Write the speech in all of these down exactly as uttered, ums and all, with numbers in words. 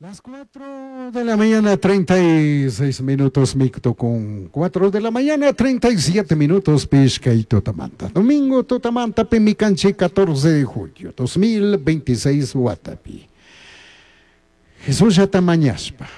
Las cuatro de la mañana, treinta y seis minutos, micto con cuatro de la mañana, treinta y siete minutos, Pishka y Tutamanta. Domingo Tutamanta, Pimicanchi, catorce de julio, dos mil veintiséis, Huatapi. Jesús ya mañashpa,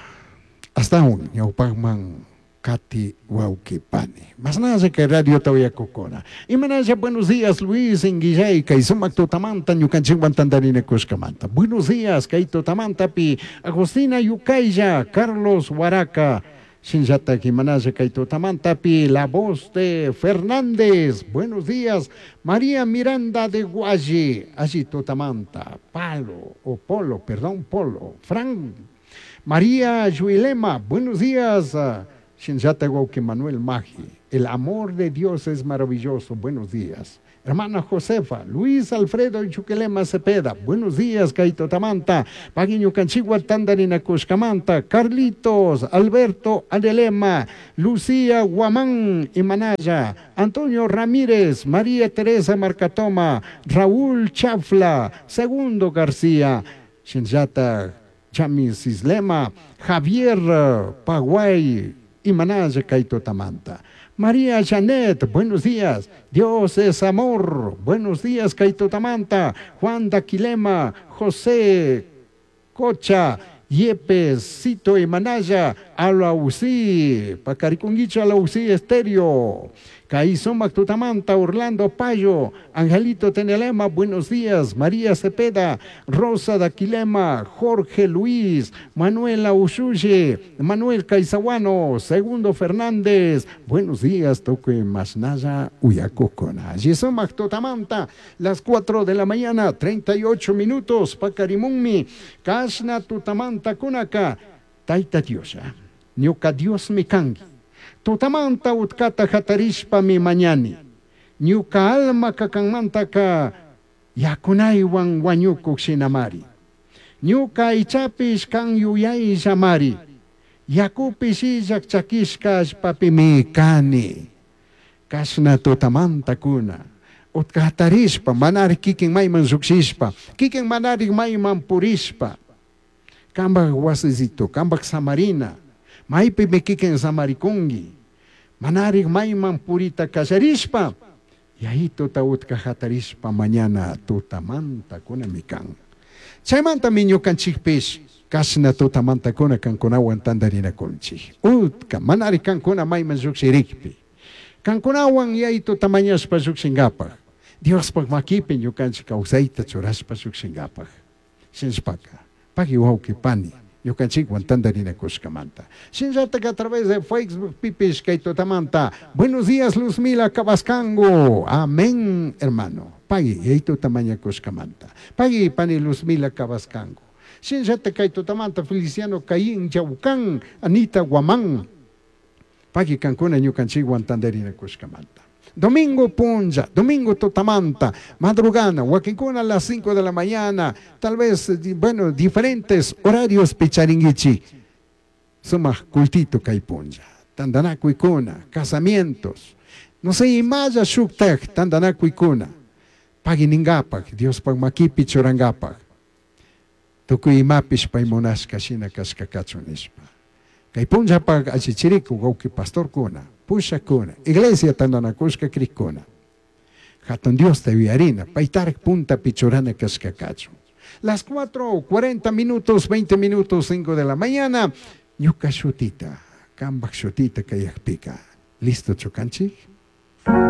hasta un ñawpajman kati wauki pani. Masnalla que radio tawayakukuna. Imanalla, buenos días, Luis Inguillay, kay sumak tutamanta ñukanchikwan tantarinakushkamanta. Buenos días, kay tutamantapi Agustina Yukaylla, Carlos Huaraca, Shinllata imanalla kay tutamantapi la voz de Fernández. Buenos días, María Miranda de Guayi, allí tutamanta, Palo, o Polo, perdón, Polo, Fran, María Yuilema, buenos días. Shinllata wauki Manuel Magi, el amor de Dios es maravilloso, buenos días. Hermana Josefa, Luis Alfredo Chuquelema Cepeda, buenos días, Kaito Tamanta, Paguiño Canchigua Tandarina Cuscamanta, Carlitos, Alberto Adelema, Lucía Guamán Imanaya, Antonio Ramírez, María Teresa Marcatoma, Raúl Chafla, Segundo García, Shinjata Chamis Islema, Javier Paguay, Imanaya Kaito Tamanta. María Janet, buenos días. Dios es amor. Buenos días, Kaito Tamanta. Juan Daquilema, José Cocha, Yepes, Cito Imanaya, Alaucí, Pacariconguicho Alaucí Estéreo. Kaisumac Tutamanta, Orlando Payo, Angelito Tenelema, buenos días, María Cepeda, Rosa Daquilema, Jorge Luis, Manuela Ushuye, Manuel Caizaguano, Segundo Fernández, buenos días, Toque Masnaya, Uyacocona. Yisumac Tutamanta, las cuatro de la mañana, treinta y ocho minutos, Pacarimunmi, Kashna Tutamanta Kunaka, Taita Diosa, Ñuka Dios mi kangi. Tutamanta utkata hatarishpami mañani. Ñuka alma kakanmantaka yakunaywan wañukuk shinamari. Ñuka ichapish kan yuyayllamari. Yakupish illak chakishka allpapimi kani. Kashna tutamanta kuna. Utka hatarishpa, manari kikin mayman llukshishpa, kikin manari mayman purishpa. Kambak wasisito, kambak samarina, maypimi kikin samarikunki. Manarik mayman purita kallarishpa, yayituta utka hatarishpa mañana tutamanta kunami kan. Chaymantami ñukanchikpish kashna tutamanta kuna kankunawan tantarinakunchik. Utka manari kankuna mayman llukshirikpi. Kankunawan yayituta mañashpa llukshinkapak. Diospaj makipi ñukanchik kawsayta churashpa llukshinkapak. Shinshpaka, pagui wawki pani, ñukanchikwan tantarinakushkamanta. Shinllatak a través de Facebook pipish kay tutamanta. Buenos días, Luzmila Cabascango. Amén, hermano. Pagui, yayituta mañakushkamanta. Pagui, pani Luzmila Cabascango. Shinllatak kay tutamanta Feliciano Caín Chaucán, Anita Guamán. Pagui kankuna ñukanchikwan tantarinakushkamanta. Domingo punlla, domingo tutamanta, madrugana, wakinkuna a las cinco de la mañana, tal vez, bueno, diferentes horarios picharinguichi. Sumak cultito kay punlla, tandanakuykuna, casamientos, no sé, imalla shuktak tandanakuykuna, paginingapak, Diospaj makipi churangapak, tukuy imapish pay munashka shina kashka kachun nishpa. Kay punllapak allichiriku wawki pastorkuna, pushakuna, iglesia tandanakushka krikuna. Hatun Diosta yuyarina, paytarak puntapi churana kashka kachun. Las cuatro, cuarenta minutos, veinte minutos, cinco de la mañana, ñuka shutita, kambak shutita kayakpika. Listo chukanchik?